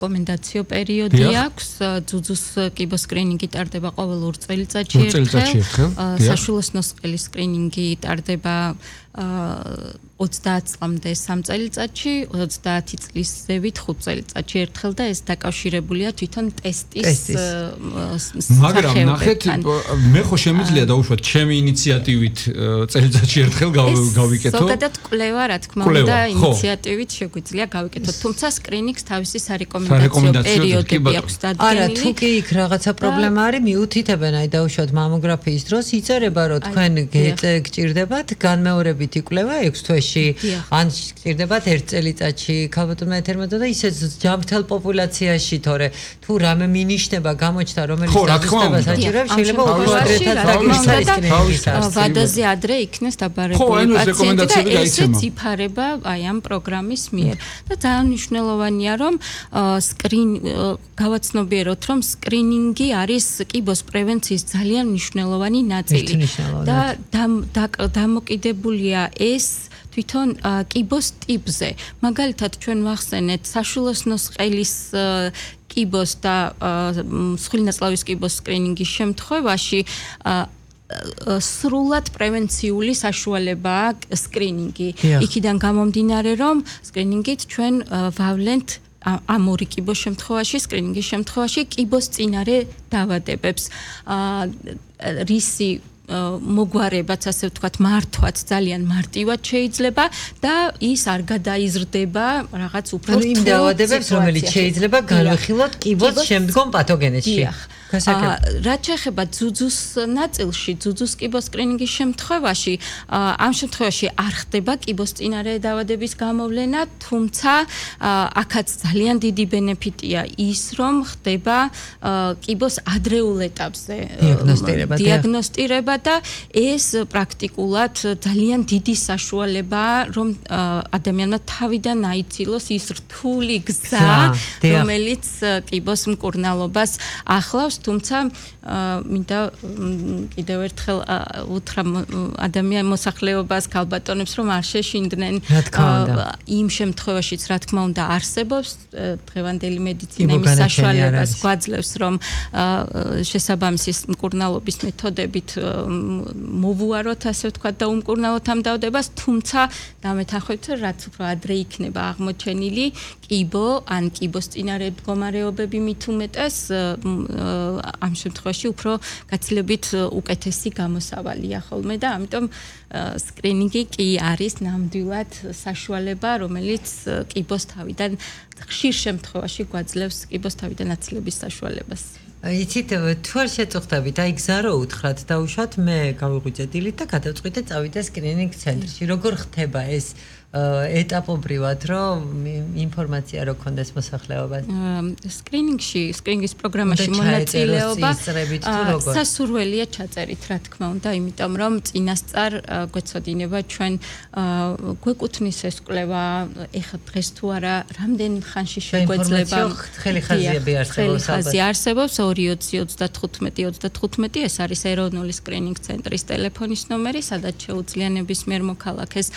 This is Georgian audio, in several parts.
რეკომენდაციო პერიოდი აქვს. ძუძუს კიბოს სკრინინგი ტარდება ყოველ 2 წელიწადში ერთხელ. საშუალო სნოსყელის სკრინინგი ტარდება 30 წლამდე 3 წელიწადში, 30 წლის ზევით 5 წელიწადში ერთხელ და ეს დაკავშირებულია თვითონ ტესტის მაგრამ ნახეთ, მე ხო შემიძლია დაუშვათ ჩემი ინიციატივით წელიწადში ერთხელ გავიკეთო. ზოგადად კვლევა, რა თქმა უნდა, ინიციატივით შეგვიძლია გავიკეთოთ, თუმცა სკრინინგს თავისი სარეკომენდაციო პერიოდები აქვს დადგენილი. არა, თუ კი იქ რაღაცა პრობლემა არის, მიუთითებენ, აი დაუშვათ მამოგრაფიის დროს იწერება, რომ თქვენ გჭირდებათ განმეორებითი კვლევა 6 თვეში, ან გჭირდებათ 1 წელიწადში, ქალბატონმა ეთერმედო და ისე ჯამთელ პოპულაციაში, თორე თუ რამე მინიშნება გამოჩნდა, რომელიც დაგესტებას აჭირებს, შეიძლება უფრო ადრეთან დაგისწრებს. ვადაზე ადრე იქნეს დაბარებული პაციენტი და ესეც იფარება აი ამ პროგრამის მიერ. და ძალიან მნიშვნელოვანია, რომ გავაცნობიეროთ, რომ სკრინინგი არის კიბოს პრევენციის ძალიან მნიშვნელოვანი ნაწილი და დამოკიდებულია ეს თვითონ კიბოს ტიპზე. მაგალითად, ჩვენ ვახსენეთ საშუალო სნოსყელის კიბოს და მსხვილნაწლავის კიბოს სკრინინგის შემთხვევაში სრულად პრევენციული საშუალებაა სკრინინგი. იქიდან გამომდინარე, რომ სკრინინგით ჩვენ ვავლენთ ამ ორი კიბოს შემთხვევაში, სკრინინგის შემთხვევაში კიბოს წინარე დაავადებებს. რისი მოგვარებაც, ასე ვთქვათ, მართვაც ძალიან მარტივად შეიძლება და ის არ გადაიზრდება რაღაც უფრო რთულ იმ დაავადებებს, რომელიც შეიძლება განვიხილოთ კიბოს შემდგომ პათოგენეზში. რაც შეეხება ძუძუს ნაწილში, ძუძუს კიბოს სკრინინგის შემთხვევაში, ამ შემთხვევაში არ ხდება კიბოს წინარე დაავადების გამოვლენა, თუმცა აქაც ძალიან დიდი ბენეფიტია ის, რომ ხდება კიბოს ადრეულ ეტაპზე დიაგნოსტირება და ეს პრაქტიკულად ძალიან დიდი საშუალებაა, რომ ადამიანმა თავიდან აიცილოს ის რთული გზა, რომელიც კიბოს მკურნალობას ახლავს. თუმცა მინდა კიდევ ერთხელ უთხრა ადამიანის მოსახლეობას, ქალბატონებს, რომ არ შეშინდნენ იმ შემთხვევაშიც, რა თქმა უნდა, არსებობს დღევანდელი მედიცინა იმის საშუალებას გვაძლევს, რომ შესაბამისი მკურნალობის მეთოდებით მოვუაროთ, ასე ვთქვათ, და უმკურნალოთ ამ დაავადებას, თუმცა დამეთანხმებით, რაც უფრო ადრე იქნება აღმოჩენილი კიბო ან კიბოს წინარე მდგომარეობები მით უმეტეს ამ შემთხვევაში უფრო გაცილებით უკეთესი გამოსავალია ხოლმე და ამიტომ სკრინინგი კი არის ნამდვილად საშუალება, რომელიც კიბოს თავიდან ხშირ შემთხვევაში გვაძლევს კიბოს თავიდან აცილების საშუალებას. იცით, თუ არ შეწუხდებით, აი გზა რო უთხრათ, დაუშვათ მე გავიღვიძე დილით და გადავწყვიტე წავიდე სკრინინგ ცენტრში. როგორ ხდება ეს ეტაპობრივად, რომ ინფორმაცია რო კონდეს მოსახლეობას? სკრინინგის პროგრამაში მონაწილეობა სასურველია ჩაწერით, რა თქმა უნდა, იმიტომ რომ წინასწარ გვეცოდინება ჩვენ გვეკუთვნის ეს კვლევა, ეხლა დღეს თუ არა, რამდენი ხანში შეგვეძლება ხელი ხაზიები არსებობს 22035 ეს არის ეროვნული სკრინინგ ცენტრის ტელეფონის ნომერი, სადაც შეუძლია ნებისმიერ მოქალაქეს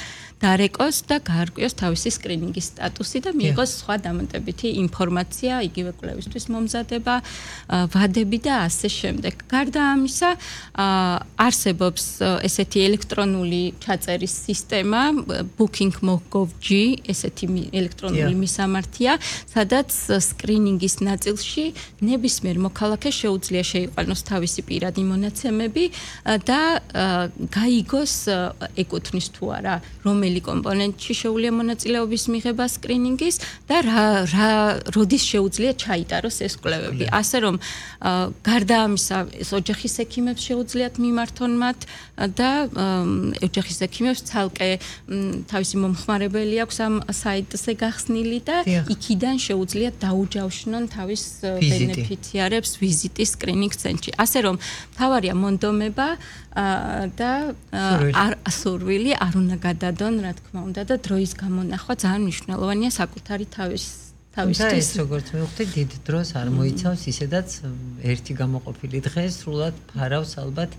დარეკოს და გაარკვიოს თავისი სკრინინგის სტატუსი და მიიღოს სხვა დამატებითი ინფორმაცია, იგივე კვლევისთვის მომზადება, ვადები და ასე შემდეგ. გარდა ამისა, არსებობს ესეთი ელექტრონული ჩაწერის სისტემა, booking.gov.g, ესეთი ელექტრონული მისამართია, სადაც სკრინინგის ნაწილში ნებისმიერ მოქალაქეს შეუძლია შეიყვანოს თავისი პირადი მონაცემები და გაიგოს ეკუთვნის თუ არა რომელი კომპონენტში შეუძლია მონაწილეობის მიღება სკრინინგის და როდის შეუძლია ჩაიტაროს ეს კვლევები. ასე რომ გარდა ამისა, ოჯახის ექიმებს შეუძლიათ მიმართონ მათ და ოჯახის ექიმებს ცალკე თავისი მომხმარებელი აქვს ამ საიტზე გახსნილი და იქიდან შეუძლიათ დაუჯავშნონ თავის ბენეფიციარებს ვიზიტის სკრინინგ ცენტრში. ასე რომ თავარია მონდომება და სურვილი არ უნდა გადადონ, რა თქმა უნდა, და დროის გამონახვა ძალიან მნიშვნელოვანია საკუთარი თავისთვის. ეს როგორც მივხვდი, დიდ დროს არ მოიცავს ისედაც ერთი გამოყოფილი დღე სრულად ფარავს ალბათ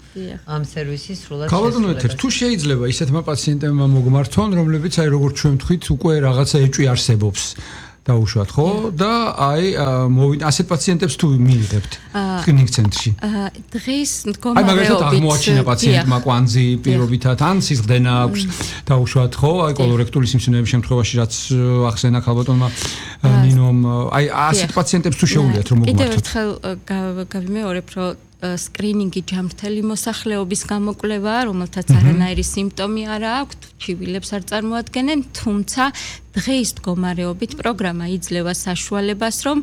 ამ სერვისის სრულად. ქალბატონო ეთერ, თუ შეიძლება ისეთმა პაციენტებმა მოგმართონ, რომლებიც აი როგორც ჩვენ ვთქვით, უკვე რაღაცა ეჭვი არსებობს. დაუშვათ, ხო? და აი ასეთ პაციენტებს თუ მიიღებთ სკრინინგ ცენტრში. დღეს მდგომარეობით აი მაგალითად აღმოაჩინა პაციენტმა კვანძი პირობითად ან სისხლდენა აქვს დაუშვათ, ხო? აი კოლორექტული სიმსივნეების შემთხვევაში რაც ახსენა ქალბატონმა ნინომ, აი ასეთ პაციენტებს თუ შეუძლიათ რომ მოგმართოთ. კიდევ ერთხელ გავიმეორებ, რომ სკრინინგი ჯამრთელი მოსახლეობის გამოკვლევაა, რომელთაც არანაირი სიმპტომი არ აქვთ, ჩივილებს არ წარმოადგენენ, თუმცა დღეს მდგომარეობით პროგრამა იძლევა საშუალებას, რომ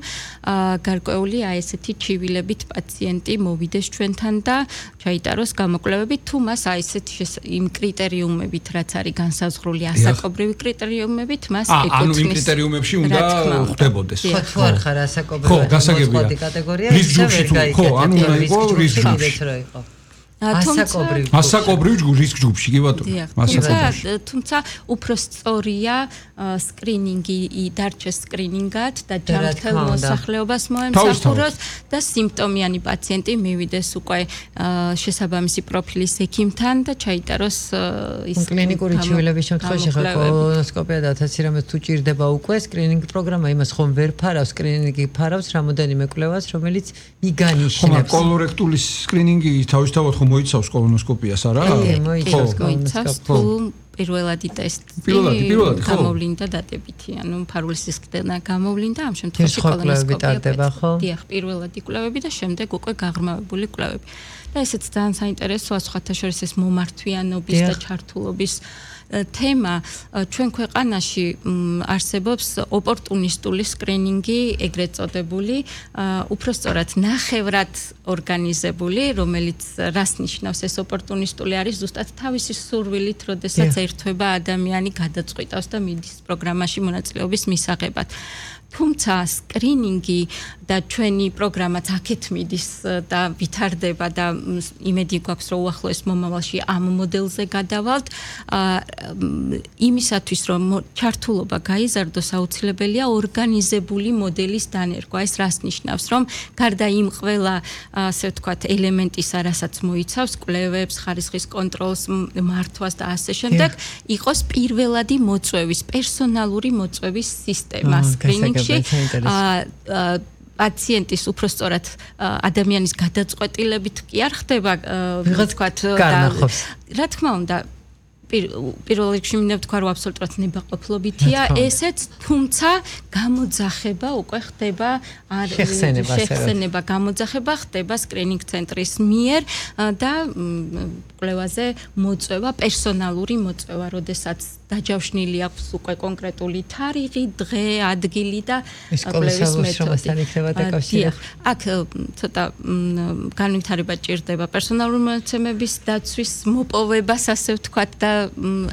გარკვეული აი ესეთი ჩივილებით პაციენტი მოვიდეს ჩვენთან და ჩაიტაროს გამოკვლევები, თუ მას აი ესეთი იმ კრიტერიუმებით, რაც არის განსაზღვრული ასაკობრივი კრიტერიუმებით, მას ეკუთვნის. ანუ იმ კრიტერიუმებში უნდა ხვდებოდეს. ხო, თუ არ ხარ ასაკობრივი კატეგორია, რისკ ჯგუფში თუ ხო, ანუ უნდა იყოს რისკ ჯგუფში. ასაკობრივ რისკ ჯგუფში, კი ბატონო. თუმცა უფრო სწორია სკრინინგი დარჩეს სკრინინგად და ჯანმრთელ მოსახლეობას მოემსახუროს და სიმპტომიანი პაციენტი მივიდეს უკვე შესაბამისი პროფილის ექიმთან და ჩაიტაროს ის კლინიკური ჩივილების შემთხვევაში ხა კოლონოსკოპია და 1000 რამე თუ ჭირდება უკვე სკრინინგ პროგრამა იმას ხომ ვერ ფარავს, სკრინინგი ფარავს რამოდენიმე კვლევას, რომელიც იგანიშნებს. ხომ კოლორექტული სკრინინგი თავისთავად ხომ მოიცავს კოლონოსკოპიას, არა? მოიცავს თუ პირველადი ტესტი გამოვლინდა დადებითი, ანუ ფარული სისხლდენა გამოვლინდა, ამ შემთხვევაში კოლონოსკოპია. დიახ, პირველადი კვლევები და შემდეგ უკვე გაღრმავებული კვლევები. და ესეც ძალიან საინტერესოა, სხვათა შორის ეს მომართვიანობის და ჩართულობის თემა. ჩვენ ქვეყანაში არსებობს ოპორტუნისტული სკრინინგი, ეგრეთ წოდებული, უფრო სწორად ნახევრად ორგანიზებული, რომელიც რას ნიშნავს ეს ოპორტუნისტული არის ზუსტად თავისი სურვილით, როდესაც ერთვება ადამიანი გადაწყვიტავს და მიდის პროგრამაში მონაწილეობის მისაღებად. თუმცა სკრინინგი და ჩვენი პროგრამაც აქეთ მიდის და ვითარდება და იმედი გვაქვს, რომ უახლოეს მომავალში ამ მოდელზე გადავალთ. იმისათვის, რომ ჩართულობა გაიზარდოს, აუცილებელია ორგანიზებული მოდელის დანერგვა. ეს რას ნიშნავს, რომ გარდა იმ ყველა, ასე ვთქვათ, ელემენტისა, რასაც მოიცავს, კვლევებს, ხარისხის კონტროლს, მართვას და ასე შემდეგ, იყოს პირველადი მოწვევის, პერსონალური მოწვევის სისტემა სკრინინგში. პაციენტის უფრო სწორად ადამიანის გადაწყვეტილებით კი არ ხდება, ვთქვათ, რა თქმა უნდა, პირველ რიგში მინდა ვთქვა, რომ აბსოლუტურად ნებაყოფლობითია ესეც, თუმცა გამოძახება უკვე ხდება, შეხსენება გამოძახება ხდება სკრინინგ ცენტრის მიერ და კვლევაზე მოწვევა, პერსონალური მოწვევა, როდესაც დაჯავშნილი აქვს უკვე კონკრეტული თარიღი, დღე, ადგილი და კვლევის მეთოდი. აქ ცოტა განვითარება ჭირდება პერსონალური მონაცემების დაცვის მოპოვებას, ასე ვთქვათ, და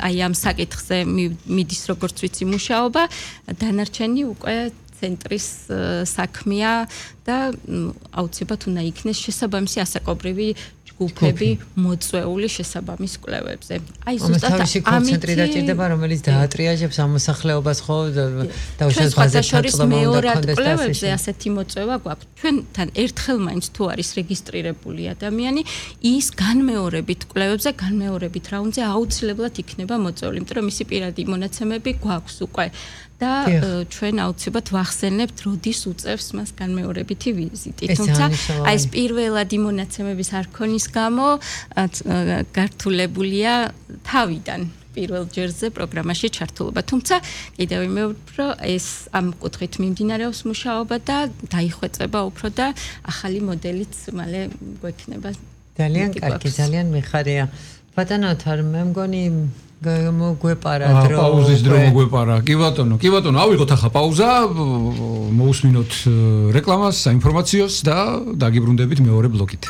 აი ამ საკითხზე მიდის როგორც ვიცი მუშაობა, დანარჩენი უკვე ცენტრის საქმეა და აუცილებლად უნდა იქნეს შესაბამისი ასაკობრივი ჯგუფები მოწვეული შესაბამის კვლევებზე. აი ზუსტად ამით დაჭირდება, რომელიც დაატრიაჟებს ამ მოსახლეობას, ხო, და უშუალოდ მეორად კვლევებზე ასეთი მოწვევა გვაქვს. ჩვენთან ერთხელ მაინც თუ არის რეგისტრირებული ადამიანი, ის განმეორებით კვლევებზე, განმეორებით რაუნდზე აუცილებლად იქნება მოწვეული, იმიტომ რომ მისი პირადი მონაცემები გვაქვს უკვე. და ჩვენ აუცილებლად ვახსენებთ, როდის უწევს მას განმეორებითი ვიზიტი. თუმცა აი ეს პირველადი მონაცემების არქონის გამო გართულებულია თავიდან პირველ ჯერზე პროგრამაში ჩართულობა. თუმცა კიდევ ვიმეორებ, რომ ეს ამ კუთხით მიმდინარეობს მუშაობა და დაიხვეწება უფრო და ახალი მოდელიც მალე გვექნება. ძალიან კარგი, ძალიან მიხარია. ბატონო თარ მე მგონი მოგვეპარა დრო. პაუზის დრო მოგვეპარა. კი ბატონო, ავიღოთ ახლა პაუზა, მოусმინოთ რეკლამას, საინფორმაციოს და დაგიბრუნდებით მეორე ბლოკით.